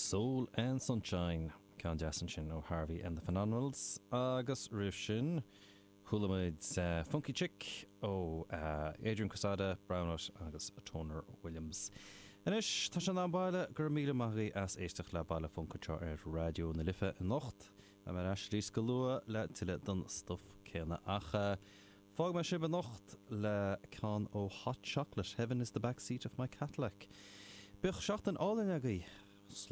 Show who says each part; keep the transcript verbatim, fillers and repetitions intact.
Speaker 1: Soul and Sunshine ceann deas ansin ó Harvey and the Phenomenals agus roimh sin chuala muid uh, Funky Chick ó uh, Adrian Quesada, Brownout agus Toner Williams. Anois tá sé in am baile go raibh míle maith agaibh as éisteacht le Baile Func anseo ar Raidió na Life anocht a mar arís go luath le tuilleadh den stuif céanna ach uh, Fágfaidh mé sibh anocht le ceann ó Hot Chocolate Heaven is the backseat of my Cadillac. Bíodh seachtain álainn agaibh. Slán